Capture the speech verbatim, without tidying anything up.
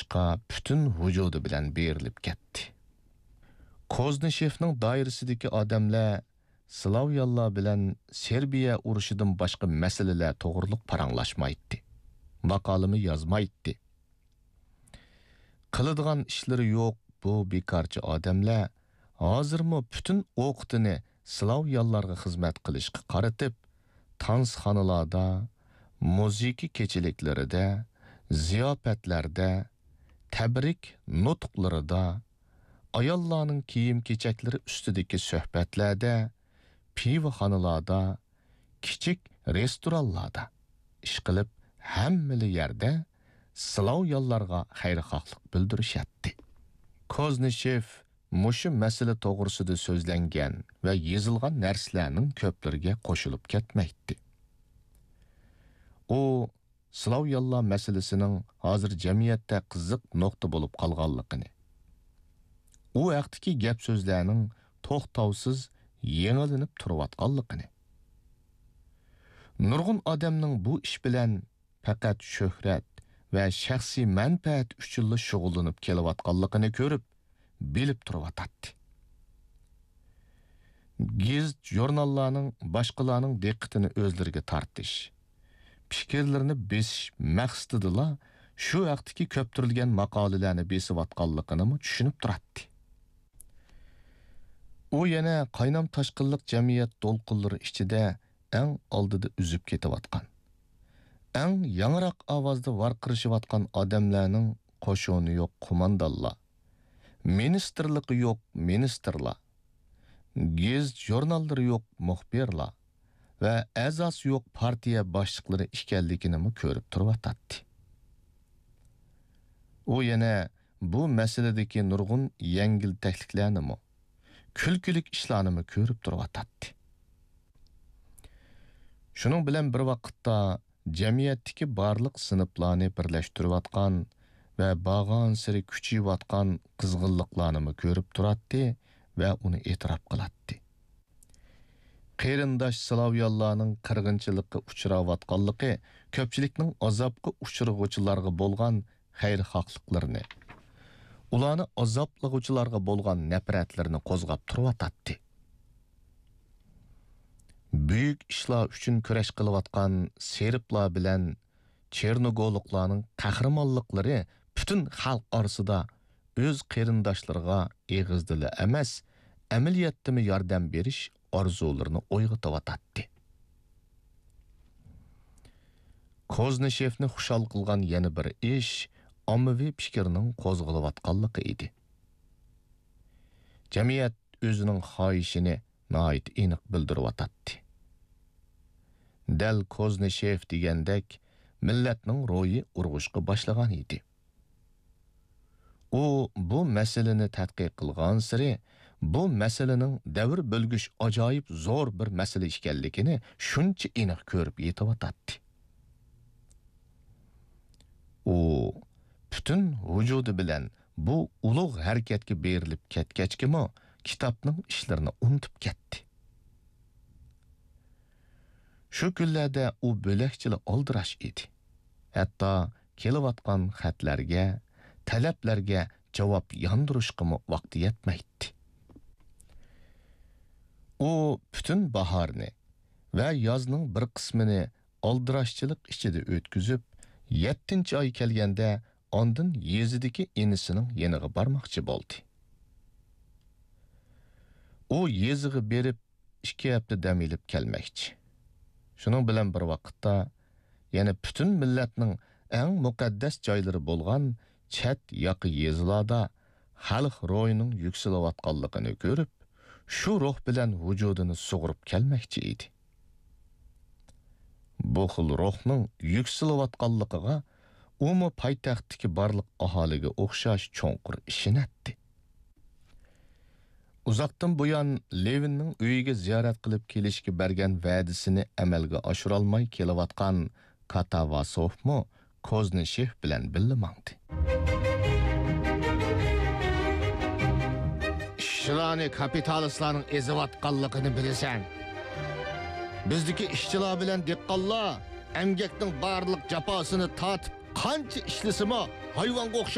ئىشقا پۈتۈن ۋۇجۇدى بىلەن بېرىلىپ كەتتى. كوزنىشېفنىڭ دائىرىسىدىكى ئادەملەر سلاۋيانلار بىلەن سېربىيە ئۇرۇشىدىن باشقا مەسىلىلەر توغرۇلۇق پاراڭلاشمايتتى، ماقالىمۇ يازمايتتى. قىلىدىغان ئىشلىرى يوق بۇ بىكارچى ئادەملەر ھازىرمۇ پۈتۈن ئوقىتىنى سلاۋيانلارغا خىزمەت قىلىشقا قارىتىپ، تانسىخانىلاردا، مۇزىكا كېچىلىكلىرىدە، زىياپەتلەردە، تەبرىك نۇتۇقلىرىدا، ئاياللارنىڭ كىيىم-كېچەكلىرى ئۈستىدىكى سۆھبەتلەردە، پىۋىخانىلاردا، كىچىك رېستورانلاردا، ئىشقىلىپ، ھەممىلا يەردە سلاۋيانلارغا خەيرخاھلىق بىلدۈرۈشەتتى. كوزنىشېف مۇشۇ مەسىلە توغرىسىدا سۆزلەنگەن ۋە يېزىلغان نەرسىلەرنىڭ كۆپلىرىگە قوشۇلۇپ كەتمەيتتى. ئۇ سلاۋيانلار مەسىلىسىنىڭ ھازىر جەمئىيەتتە قىزىق نۇقتا بولۇپ قالغانلىقىنى، ئۇ ھەقتىكى گەپ-سۆزلەرنىڭ توختاۋسىز يېڭىلىنىپ تۇرۇۋاتقانلىقىنى، نۇرغۇن ئادەمنىڭ بۇ ئىش بىلەن پەقەت شۆھرەت ۋە شەخسىي مەنپەئەت ئۈچۈنلا شۇغۇللىنىپ كېلىۋاتقانلىقىنى كۆرۈپ، بىلىپ تۇرۇۋاتاتتى. گېزىت-ژۇرناللارنىڭ باشقىلارنىڭ دىققىتىنى ئۆزلىرىگە تارتىش، پىكىرلىرىنى بېسىش مەقسىتىدىلا شۇ ھەقتىكى كۆپتۈرۈلگەن ماقالىلەرنى بېسىۋاتقانلىقىنىمۇ چۈشىنىپ تۇراتتى. ئۇ يەنە قاينام-تاشقىنلىق جەمئىيەت دولقۇنلىرى ئىچىدە ئەڭ ئالدىدا ئۈزۈپ كېتىۋاتقان، ئەڭ ياڭراق ئاۋازدا ۋارقىرىشىۋاتقان ئادەملەرنىڭ قوشۇنى يوق قوماندانلار، مىنىستىرلىقى يوق مىنىستىرلار، گېزىت-ژۇرناللىرى يوق مۇخبىرلار ۋە ئەزاسى يوق پارتىيە باشلىقلىرى ئىكەنلىكىنىمۇ كۆرۈپ تۇرۇۋاتاتتى. ئۇ يەنە بۇ مەسىلىدىكى نۇرغۇن يەڭگىلتەكلىكلەرنىمۇ، كۈلكىلىك ئىشلارنىمۇ كۆرۈپ تۇرۇۋاتاتتى. شۇنىڭ بىلەن بىر ۋاقىتتا، جەمئىيەتتىكى بارلىق سىنىپلارنى بىرلەشتۈرۈۋاتقان ۋە بارغانسېرى كۈچىيىۋاتقان قىزغىنلىقلارنىمۇ كۆرۈپ تۇراتتى ۋە ئۇنى ئېتىراپ قىلاتتى. قېرىنداش سلاۋيانلارنىڭ قىرغىنچىلىققا ئۇچراۋاتقانلىقى كۆپچىلىكنىڭ ئازابقا ئۇچرىغۇچىلارغا بولغان خەيرخاھلىقلىرىنى، ئۇلارنى ئازابلىغۇچىلارغا بولغان نەپرەتلىرىنى قوزغاپ تۇرۇۋاتاتتى. بۈيۈك ئىشلار ئۈچۈن كۈرەش قىلىۋاتقان سېربلار بىلەن چېرنوگولۇقلارنىڭ قەھرىمانلىقلىرى پۈتۈن خەلق ئارىسىدا ئۆز قېرىنداشلىرىغا ئېغىزدىلا ئەمەس، ئەمەلىيەتتىمۇ ياردەم بېرىش ئارزۇلىرىنى ئويغىتىۋاتاتتى. كوزنىشېفنى خۇشال قىلغان يەنە بىر ئىش ئاممىۋى پىكىرنىڭ قوزغىلىۋاتقانلىقى ئىدى. جەمئىيەت ئۆزىنىڭ خاھىشىنى ناھايىتى ئېنىق بىلدۈرۈۋاتاتتى. دەل كوزنىشېف دېگەندەك، مىللەتنىڭ روھى ئۇرغۇشقا باشلىغان ئىدى. ئۇ بۇ مەسىلىنى تەتقىق قىلغانسېرى، بۇ مەسىلىنىڭ دەۋر بۆلگۈچ ئاجايىپ زور بىر مەسىلە ئىكەنلىكىنى شۇنچە ئېنىق كۆرۈپ يېتىۋاتاتتى. ئۇ پۈتۈن ۋۇجۇدى بىلەن بۇ ئۇلۇغ ھەرىكەتكە بېرىلىپ كەتكەچكىمۇ، كىتابنىڭ ئىشلىرىنى ئۇنتۇپ كەتتى. شۇ كۈنلەردە ئۇ بۆلەكچىلا ئالدىراش ئىدى. ھەتتا كېلىۋاتقان خەتلەرگە، تەلەپلەرگە جاۋاب ياندۇرۇشقىمۇ ۋاقتى يەتمەيتتى. ئۇ پۈتۈن باھارنى ۋە يازنىڭ بىر قىسمىنى ئالدىراشچىلىق ئىچىدە ئۆتكۈزۈپ، يەتتىنچى ئاي كەلگەندە ئاندىن يېزىدىكى ئىنىسىنىڭ يېنىغا بارماقچى بولدى. ئۇ يېزىغا بېرىپ، ئىككى ھەپتە دەم ئېلىپ كەلمەكچى. شۇنىڭ بىلەن بىر ۋاقىتتا، يەنە پۈتۈن مىللەتنىڭ ئەڭ مۇقەددەس جايلىرى بولغان چەت ياقا يېزىلاردا خەلق روھىنىڭ يۈكسىلىۋاتقانلىقىنى كۆرۈپ، شۇ روھ بىلەن ۋۇجۇدىنى سۇغۇرۇپ كەلمەكچى ئىدى. بۇ خىل روھنىڭ يۈكسىلىۋاتقانلىقىغا ئۇمۇ پايتەختتىكى بارلىق ئاھالىگە ئوخشاش چوڭقۇر ئىشىنەتتى. ئۇزاقتىن بۇيان لېۋىننىڭ ئۆيىگە زىيارەت قىلىپ كېلىشكە بەرگەن ۋەدىسىنى ئەمەلگە ئاشۇرالماي كېلىۋاتقان كاتاۋاسوفمۇ كوزنىشېف بىلەن بىللە ماڭدى. ئىشچىلارنى كاپىتالىستلارنىڭ ئېزىۋاتقانلىقىنى بىلىسەن. بىزدىكى ئىشچىلار بىلەن دېھقانلار ئەمگەكنىڭ بارلىق جاپاسىنى تارتىپ، قانچە ئىشلىسىمۇ، ھايۋانغا ئوخشاش